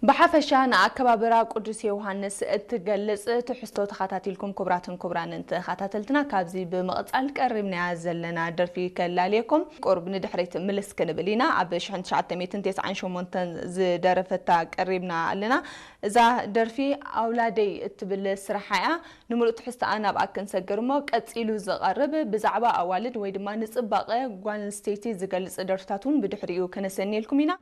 ብሓፈሻ ንኣከባብራ ቅዱስ ዮሃንስ እትገልጽ ትሕዝቶ ተኸታቲልኩም፣ ክቡራትን ክቡራንን ተኸታተልትና፣ ካብዚ ብምቕጻል ቀሪብናያ ዘለና ደርፊ ከላልየኩም። ቁሩብ ንድሕሪት ምልስ ክንብል ኢና። ኣብ ሽሕን ትሽዓተ ሚእትን ተስዓን ሸሞንተን ዝደረፈታ ቀሪብና ኣለና። እዛ ደርፊ ኣውላደይ እትብል ስራሓ እያ። ንምሉእ ትሕዝቶኣ ናብኣ ክንሰግር እሞ፣ ቀጺሉ ዝቐርብ ብዛዕባ ኣዋልድ ወይ ድማ ንጽባቐ ጓል ኣንስተይቲ ዝገልጽ ደርፍታት እውን ብድሕሪኡ ከነሰንየልኩም ኢና።